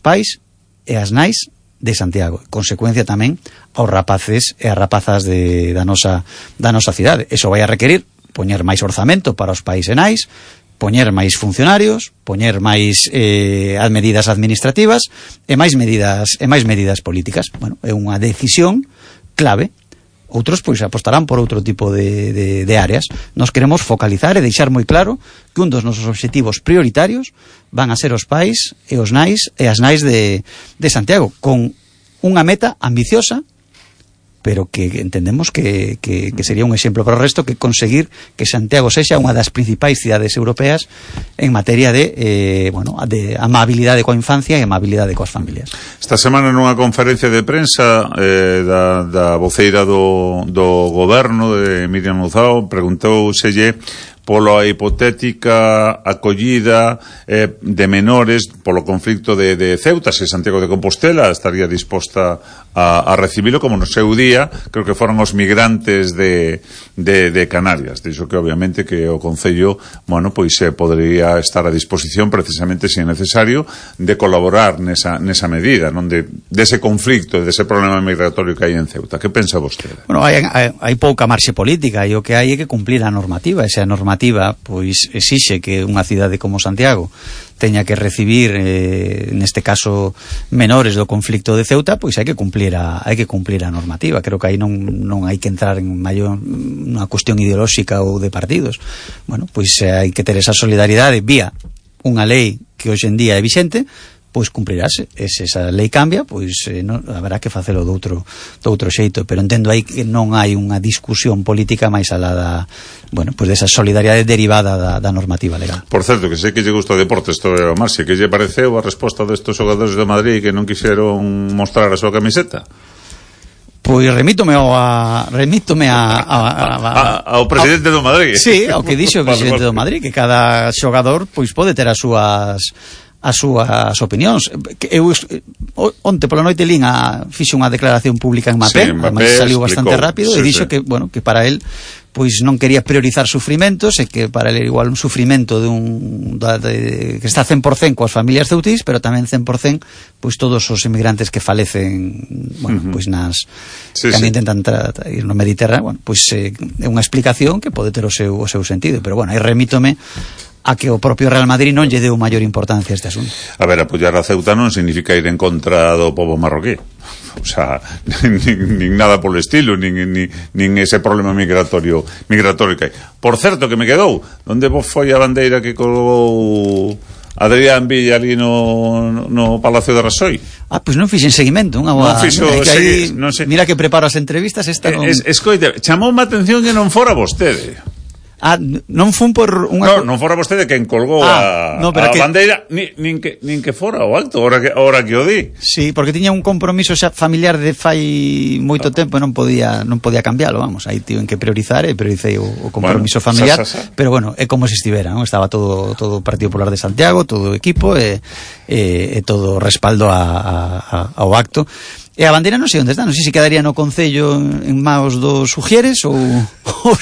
pais e as nais de Santiago, consecuencia tamén aos rapaces e as rapazas da nosa cidade. Eso vai a requerir poñer máis orzamento para os pais e nais, poñer máis funcionarios, poñer máis medidas administrativas e máis medidas políticas. Bueno, é unha decisión clave. Outros pois apostarán por outro tipo de áreas. Nos queremos focalizar e deixar moi claro que un dos nosos obxectivos prioritarios van a ser os pais e os nais e as nais de Santiago, con unha meta ambiciosa, pero que entendemos que sería un exemplo para o resto, que conseguir que Santiago sexa unha das principais cidades europeas en materia de amabilidade coa infancia e amabilidade coas familias. Esta semana nunha conferencia de prensa da voceira do goberno, de Miriam Luzao, preguntouselle pola hipotética acollida de menores polo conflicto de Ceuta, se Santiago de Compostela estaría disposta a recibilo, como no seu día creo que foron os migrantes de Canarias. Dixo que obviamente que o Concello, bueno, pois podría estar a disposición precisamente, se é necesario, de colaborar nesa medida, non dese conflicto, dese problema migratorio que hai en Ceuta. Que pensa vostede? Bueno, hai pouca marxe política e o que hai é que cumplir a normativa. Esa normativa pois exixe que unha cidade como Santiago teña que recibir neste caso menores do conflicto de Ceuta, pois hai que cumplir a normativa. Creo que aí non hai que entrar en maior unha cuestión ideolóxica ou de partidos. Bueno, pois hai que ter esa solidaridade vía unha lei que hoxe en día é vixente, pois cumprirase. E se esa lei cambia, pois haberá que facelo doutro xeito, pero entendo aí que non hai unha discusión política máis alá desa solidaridade derivada da normativa legal. Por certo, que sei que lle gusta o deporte, isto é o Marci, que lle pareceu a resposta destes xogadores de Madrid que non quixeron mostrar a súa camiseta? Pois remítome ao presidente do Madrid. Sí, ao que dixo o presidente do Madrid, que cada xogador pois pode ter as súas opinións. Eu onte pola noite fixe unha declaración pública en Mapé, además saliu bastante rápido, e dixo que para él pois non quería priorizar sufrimentos, e que para él igual un sufrimento que está 100% coas familias ceutís, pero tamén 100% pois todos os inmigrantes que falecen, pois que intentan ir no Mediterráneo. Pois é unha explicación que pode ter o seu sentido, pero aí remítome a que o propio Real Madrid non lle deu maior importancia a este asunto. A ver, apoiar a Ceuta non significa ir en contra do pobo marroquí. O sea, nin nada polo estilo, nin ese problema migratorio que hai. Por certo, que me quedou, onde foi a bandeira que colgou Adrián Villa ali no Palacio de Rasoy? Pois non fixen seguimento, non sei. Mira que preparo as entrevistas, escoite, chamoume a atención que non fora vostede. Non fun por unha... Non fora vostede quen colgou a bandeira, nin que fora o acto, ora que o di. Sí, porque tiña un compromiso xa familiar de fai moito tempo e non podía cambialo, vamos. Aí tiven que priorizar e priorizei o compromiso familiar, pero é como se estivera, non? Estaba todo o Partido Popular de Santiago, todo o equipo e todo o respaldo ao acto. E a bandeira non sei onde está, non sei se quedaría no Concello en maos dos Ujieres ou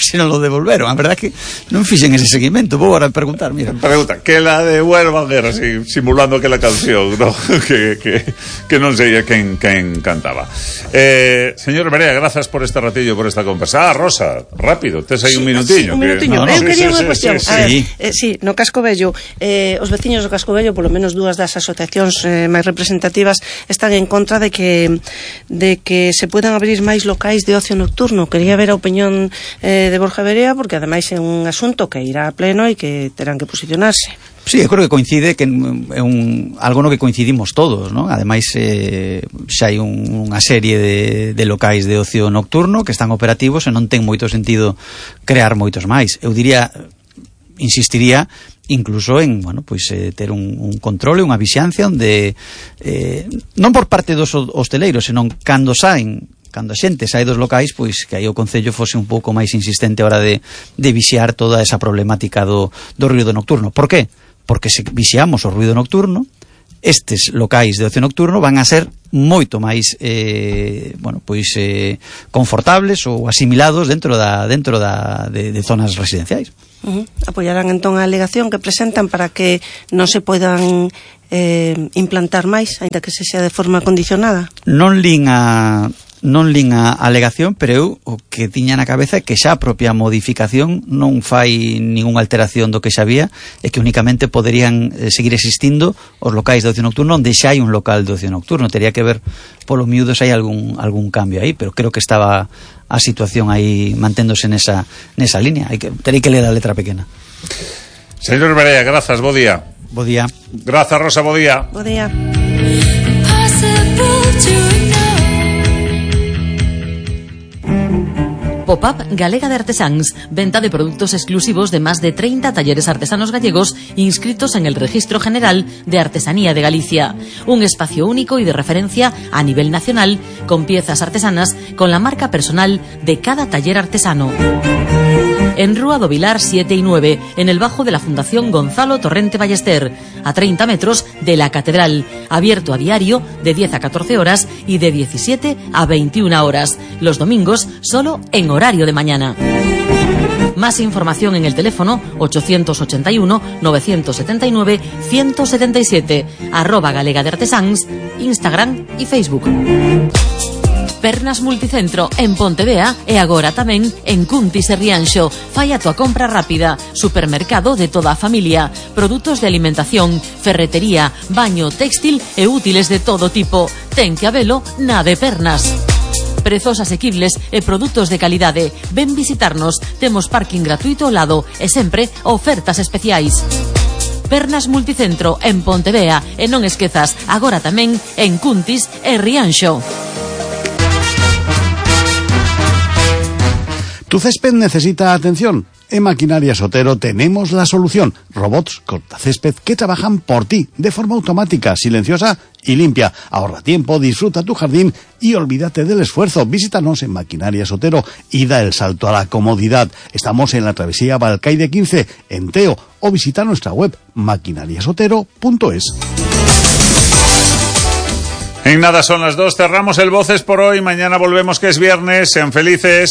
se non lo devolveron. A verdad que non fixen ese seguimento. Vou agora preguntar, mira. Pregunta, que la devuelvan, así, simulando aquela canción, ¿no? que non sei quen cantaba. Señor Berea, grazas por este ratillo, por esta conversa. Rosa, rápido, tes aí un minutiño. Un minutiño. Eu quería unha cuestión. Sí, no Casco Vello, os veciños do Casco Vello, polo menos dúas das asociacións máis representativas, están en contra de que se puedan abrir máis locais de ocio nocturno. Quería ver a opinión de Borja Berea, porque ademais é un asunto que irá a pleno e que terán que posicionarse. Sí, eu creo que coincide, que é algo no que coincidimos todos, non? Ademais, xa hai unha serie de locais de ocio nocturno que están operativos e non ten moito sentido crear moitos máis. Eu insistiría incluso en, ter un control e unha vixiancia onde non por parte dos hosteleiros, senón cando a xente sae dos locais, pois que aí o Concello fose un pouco máis insistente a hora de vixiar toda esa problemática do ruido nocturno. Por qué? Porque se vixiamos o ruido nocturno, estes locais de ocio nocturno van a ser moito máis confortables ou asimilados dentro de zonas residenciais. Apoiarán entón a alegación que presentan para que non se poidan implantar máis, aínda que se xa de forma condicionada? Non lin a alegación, pero eu o que tiña na cabeza é que xa a propia modificación non fai ningunha alteración do que xa había, e que únicamente poderían seguir existindo os locais de ocio nocturno onde xa hai un local de ocio nocturno. Tería que ver polo miúdo se hai algún cambio aí, pero creo que estaba a situación aí manténdose nesa línea. Terei que ler a letra pequena. Señor Berea, grazas, bo día. Bo día. Grazas, Rosa, bo día. Bo día. Pop-up Galega de Artesáns, venta de productos exclusivos de más de 30 talleres artesanos gallegos inscritos en el Registro General de Artesanía de Galicia. Un espacio único y de referencia a nivel nacional, con piezas artesanas con la marca personal de cada taller artesano. En Rúa do Vilar 7 y 9, en el bajo de la Fundación Gonzalo Torrente Ballester, a 30 metros de la Catedral, abierto a diario de 10 a 14 horas y de 17 a 21 horas, los domingos solo en horario de mañana. Más información en el teléfono 881-979-177, @Galega de Artesáns, Instagram y Facebook. Pernas Multicentro en Pontevea e agora tamén en Cuntis e Rianxo. Fai a tua compra rápida. Supermercado de toda a familia. Produtos de alimentación, ferretería, baño, textil e útiles de todo tipo. Ten que habelo na de Pernas. Prezos asequibles e produtos de calidade. Ven visitarnos. Temos parking gratuito ao lado e sempre ofertas especiais. Pernas Multicentro en Pontevea e non esquezas, agora tamén en Cuntis e Rianxo. ¿Tu césped necesita atención? En Maquinarias Otero tenemos la solución. Robots cortacésped que trabajan por ti de forma automática, silenciosa y limpia. Ahorra tiempo, disfruta tu jardín y olvídate del esfuerzo. Visítanos en Maquinarias Otero y da el salto a la comodidad. Estamos en la travesía Balcaide 15, en Teo, o visita nuestra web maquinariasotero.es. En nada son las 2, cerramos el Voces por hoy. Mañana volvemos, que es viernes. Sean felices.